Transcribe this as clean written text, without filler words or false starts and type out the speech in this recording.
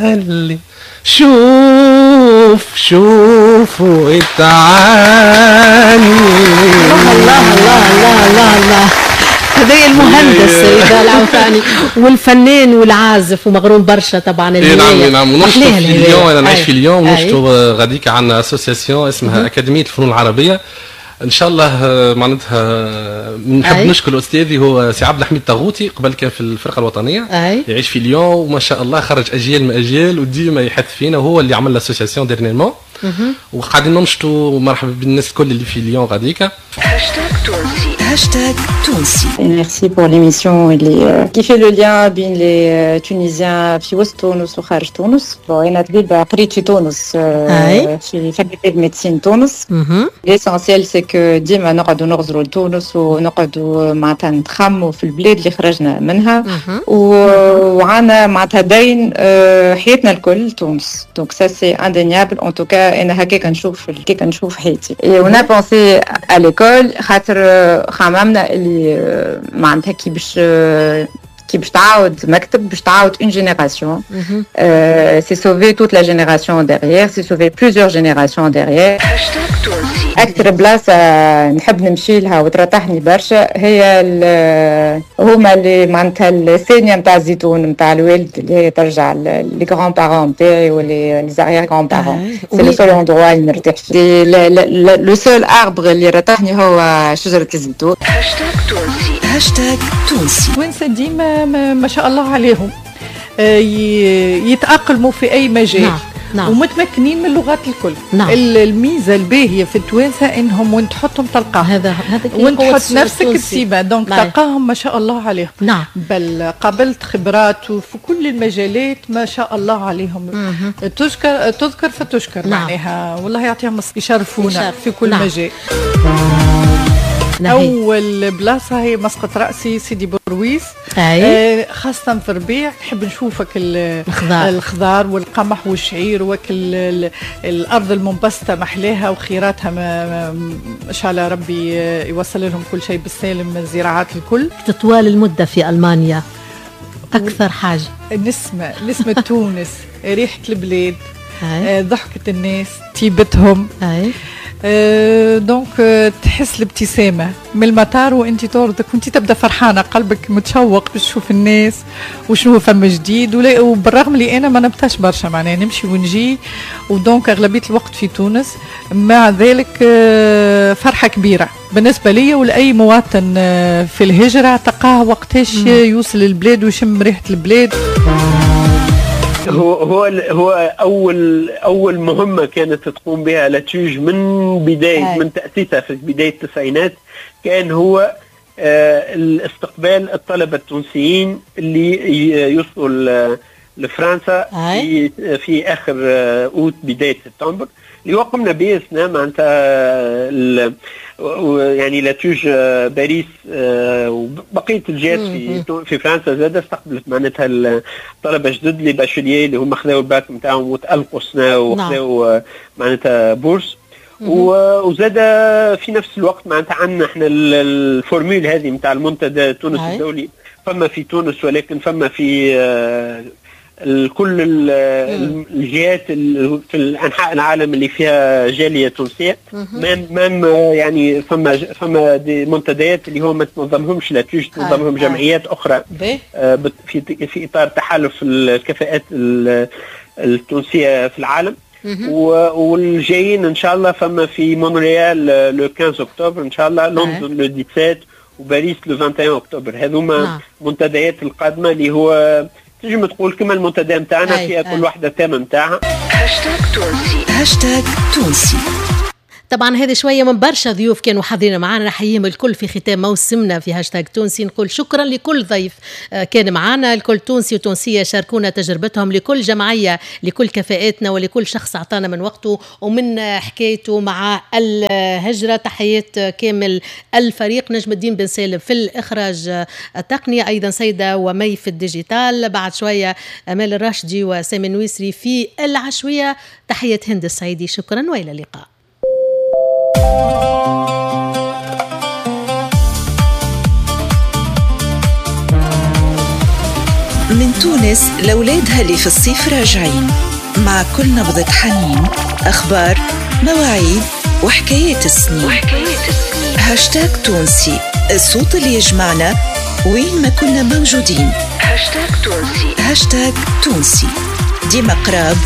قال لي شوف شوف وتعالي. الله الله الله الله الله الله. هذا المهندس رضا العوفاني والفنان والعازف ومغروم برشا طبعا. نعم نعم، ونشطوا في ليون، انا نعيش في ليون، ونشطوا غاديك عندنا association اسمها اكاديمية الفنون العربية. ان شاء الله معناتها نحب نشكر استاذي هو سي عبد الحميد طاغوتي، قبل كان في الفرقة الوطنية. يعيش في ليون وما شاء الله خرج اجيال من اجيال وديما يحث فينا، وهو اللي عمل l'association dernièrement، وقاعدين ننشطوا. مرحبا بالناس الكل اللي في ليون غاديكا. هاشتاج تونسي، هاشتاج تونسي. Merci pour l'émission اللي qui fait le lien بين les Tunisiens في وسط تونس وخارج تونس. Bon، انا طبيبة قريت في تونس في faculté de médecine تونس. L'essentiel c'est que ديما نقعدوا نغزروا لتونس ونقعدوا معناتها نتخموا في البلاد اللي خرجنا منها، وعنا معناتها دين حياتنا الكل تونس. Donc ça c'est indéniable. En tout cas انا هكاك نشوف، هكاك نشوف حياتي. Et on a pensé à l'école خاطر خممنا اللي معناتها كي باش تعاود مكتب، باش تعاود une génération، c'est sauver toute la génération derrière، c'est sauver plusieurs générations derrière. هاشتاج تونسي. اكثر بلاصة نحب نمشي لها وترتاحني برشا هي هما اللي معناتها الثانية نتاع الزيتون نتاع الوالد، اللي هي ترجع les grands-parents نتاعي و les arrière-grands-parents. c'est le seul endroit اللي نرتاح فيه، le seul arbre اللي رتاحني هو شجرة الزيتون. هاشتاج تونسي، هاشتاج تونسي. توانسة ديما ما شاء الله عليهم يتأقلموا في أي مجال. نعم. نعم. ومتمكنين من اللغات الكل. نعم. الميزة الباهيه في التوانسة انهم وين تحطهم تلقاهم، هذا وين تحط نفسك تسيبها، donc تلقاهم ما شاء الله عليهم. نعم. بل قابلت خبرات في كل المجالات ما شاء الله عليهم. تذكر تذكر فتشكر. نعم. معناها والله يعطيهم، يشرفونا في كل نعم. مجال. أول بلاصة هي مسقط رأسي سيدي برويس. خاصة في الربيع نحب نشوفك الخضار، الخضار والقمح والشعير وكل الأرض المنبسطة محلاها وخيراتها، ما شاء الله ربي يوصل لهم كل شيء بالسالم، الزراعات الكل. تطوال المدة في ألمانيا أكثر حاجة نسمة، نسمة تونس، ريحة البلاد، ضحكة الناس، طيبتهم. Donc تحس الابتسامة من المطار وانت تردك وانت تبدا فرحانة، قلبك متشوق باش تشوف الناس وشنو فما جديد. وبالرغم اللي انا ما نبتاش برشا، معناها نمشي ونجي و donc اغلبية الوقت في تونس، مع ذلك فرحة كبيرة بالنسبة لي ولأي مواطن في الهجرة تلقاه وقتاش يوصل البلاد ويشم ريحة البلاد. هو اول مهمة كانت تقوم بها l'ATUGE من بداية من تاسيسها في بداية التسعينات، كان هو الاستقبال الطلبة التونسيين اللي يوصلوا لفرنسا في اخر اوت بداية سبتمبر، اللي هو قمنا به سنة معناتها يعني l'ATUGE باريس وبقية الجهات في فرنسا زاد استقبلت معناتها الطلبة جدد les bacheliers اللي هما خذاو الباك نتاعهم وتالقوا سنة وخذاو معناتها bourse. وزاد في نفس الوقت معناتها عندنا احنا ال formule هذه نتاع المنتدى تونس الدولي، فما في تونس ولكن فما في كل الجهات في انحاء العالم اللي فيها جالية تونسية. même يعني فما des منتديات اللي هو ما تنظمهمش l'ATUGE، تنظمهم جمعيات اخرى في اطار تحالف الكفاءات التونسية في العالم. والجايين ان شاء الله فما في مونريال le 15 اكتوبر ان شاء الله، لندن le 17 وباريس le 21 اكتوبر. هذوما المنتديات القادمة اللي هو تنجم تقول كما المنتدى نتاعنا فيها كل واحدة thème نتاعها. هاشتاج تونسي، هاشتاج تونسي. طبعا هذه شوية من برشا ضيوف كانوا حاضرين معنا، نحييهم الكل في ختام موسمنا في هاشتاج تونسي. نقول شكرا لكل ضيف كان معنا، لكل تونسي وتونسيه شاركونا تجربتهم، لكل جمعية، لكل كفاءاتنا، ولكل شخص اعطانا من وقته ومن حكايته مع الهجرة. تحيات كامل الفريق، نجم الدين بن سالم في الاخراج التقني، ايضا سيده ومي في ال digital، بعد شوية امال الراشدي وسامي النويسري في العشويه. تحية هند السعيدي، شكرا والى اللقاء. من تونس لأولادها اللي في الصيف راجعين، مع كل نبضة حنين، أخبار، مواعيد وحكايات السنين. هاشتاج تونسي، الصوت اللي يجمعنا وين ما كنا موجودين. هاشتاج تونسي، هاشتاج تونسي، ديما قراب.